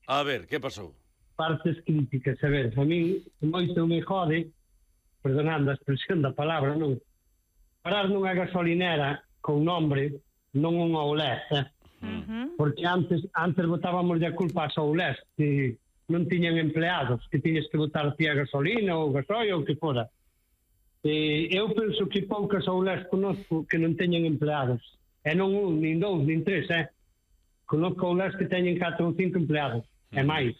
A ver, que pasou? Partes críticas, a ver, a mí moito me jode, perdonando a expresión da palabra, non? Parar nunha gasolinera con nombre, non unha Oulés, porque antes botábamos a culpa ás Oulés, que non tiñan empleados, que tiñes que botar ti a gasolina ou gasoil ou que fora. Eu penso que poucas Oulés conozco que non teñen empleados, e non un, nin dous, nin tres, conozco Oulés que teñen 4 ou 5 empleados, e máis.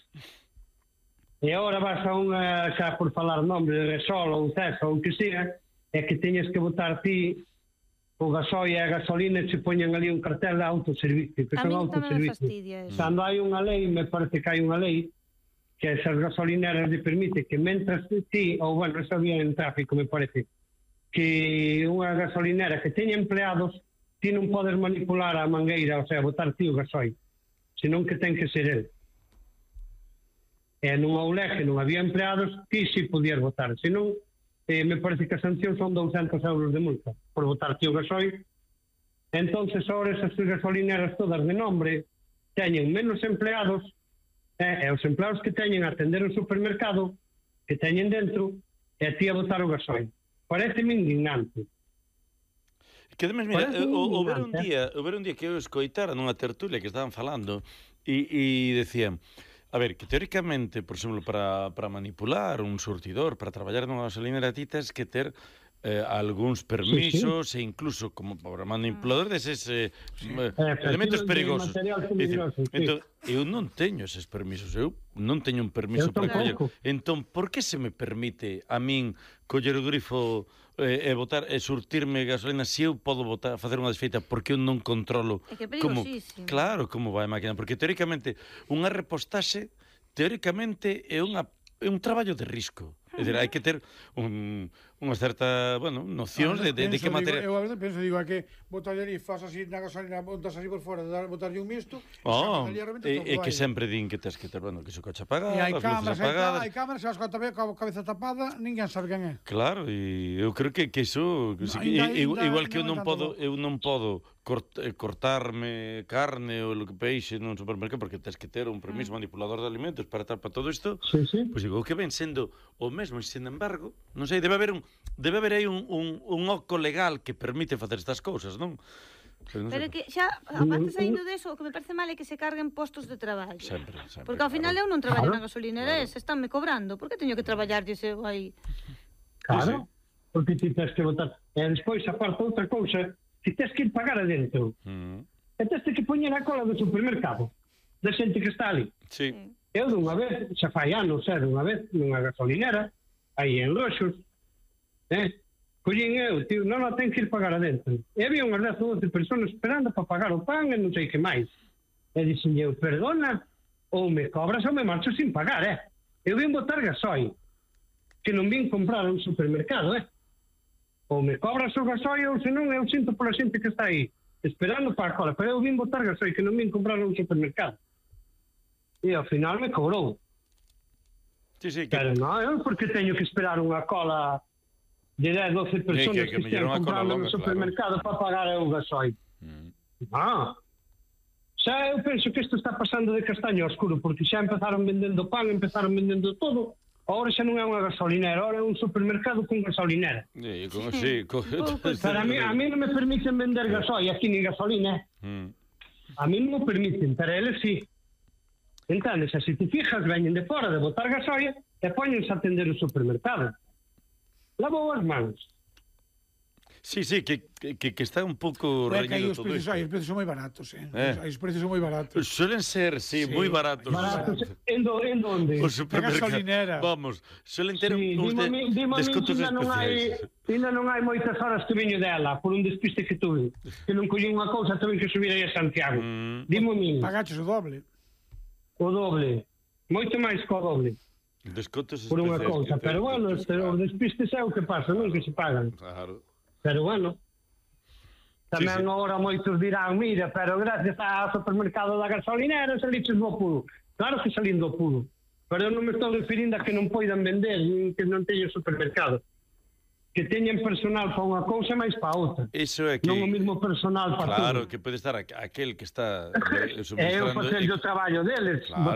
E agora vas a unha, xa por falar nombre de Resol ou Cesa ou que sea, é que teñes que botar ti o gasoil e a gasolina e se poñen ali un cartel de autoservicio, que son autoservicio. Cando hai unha lei, me parece que hai unha lei, que esas gasolineras le permite que mentras ti, ou bueno, eso había en tráfico, me parece, que unha gasolinera que teña empleados, ti non podes manipular a mangueira, o sea, botar ti o gasoil, senón que ten que ser el. E nunha Oulé que non había empleados, ti si podías votar. Senón, me parece que a sanción son 200 euros de multa por votar ti o gasoil. Entonces, ahora esas gasolineras todas de nombre teñen menos empleados, e os empleados que teñen a atender o supermercado, que teñen dentro, e a ti a votar o gasoil. Pareceme indignante. Que además, mira, o ver un día que eu escoitara nunha tertulia que estaban falando e decían, a ver, que teóricamente, por exemplo, para manipular un surtidor, para traballar nunha gasolinera, ti tens que ter algúns permisos, e incluso como para manipulador deses elementos perigosos. Entón, eu non teño eses permisos, eu non teño un permiso para coller. Entón, por que se me permite a min coller o grifo e botar e surtirme gasolina se eu podo botar, facer unha desfeita porque eu non controlo como, claro, como vai a máquina, porque teóricamente unha repostaxe teóricamente é un traballo de risco. É dicir, hai que ter unha certa, bueno, nocións de que material. Eu a veces penso, digo, que botar ali, faz así na gasolina, botas así por fora, botarlle un misto, e que sempre din que tens que ter, bueno, que se coche apagado, as luces apagadas. Hai cámaras, se vas coa cabeza tapada, ninguén sabe quen é. Claro, e eu creo que iso, igual que eu non podo cortarme carne ou peixe nun supermercado, porque tens que ter un permiso manipulador de alimentos para estar para todo isto, pois digo, que ven sendo o mesmo, e sin embargo, non sei, debe haber aí un oco legal que permite facer estas cousas, non? Pero que xa, aparte saindo deso, o que me parece mal é que se carguen postos de traballo. Sempre. Porque ao final eu non traballo na gasolinera, estánme cobrando. Por que teño que traballar se eu aí? Claro, porque ti tens que botar. E despois, aparte outra cousa, ti tens que ir pagar adentro. E tens que poñer a cola do supermercado, da xente que está ali. Sí. Eu dunha vez, xa fai anos, dunha vez, nunha gasolinera, aí en Roxos, collín eu, tío, non ten que ir pagar adentro. E había unhas 10 ou 12 personas esperando para pagar o pan e non sei que máis. E dixen eu, perdona, ou me cobras ou me marcho sin pagar, Eu vim botar gasoil, que non vim comprar a un supermercado, Ou me cobras o gasoil ou senón eu sinto pola xente que está aí, esperando para a cola, pero eu vim botar gasoil, que non vim comprar a un supermercado. E ao final me cobrou. Sí, pero non, porque teño que esperar unha cola de 10, 12 personas que estén comprando no supermercado para pagar o gasoil. Xa eu penso que isto está pasando de castaño oscuro, porque xa empezaron vendendo pan, empezaron vendendo todo. Agora xa non é unha gasolinera, agora é un supermercado con gasolinera. Pero a mí non me permiten vender gasoil aquí ni gasolina. A mí non me permiten, pero eles sí. Entonces, se te fijas, veñen de fora de botar gasoil e poñense a atender o supermercado. Lavou as mans. Sí, que está un pouco reñido todo isto. Os precios son moi baratos, Os precios son moi baratos. Suelen ser, moi baratos. Baratos, en donde? Os supermercados. Vamos, suelen ter uns descontos especiais. Ainda non hai moitas horas que veño dela, por un despiste que tuve. Que non collí unha cousa, tuve que subir aí a Santiago. Dimo a min. Pagaches o doble. O doble. Moito máis que o doble. Descontos por unha cousa, pero bueno, os despistes é o que pasa, non que se pagan. Claro. Pero bueno, tamén agora moitos dirán, mira, pero gracias ao supermercado da gasolinera saliches do apulo. Claro que salín do apulo, pero eu non me estou referindo a que non poidan vender, que non teñen supermercado. Que teñen personal para unha cousa máis para outra. Iso é que... Non o mesmo personal para claro, todo. Que pode estar aquel que está suministrando... É o facer o traballo deles, claro.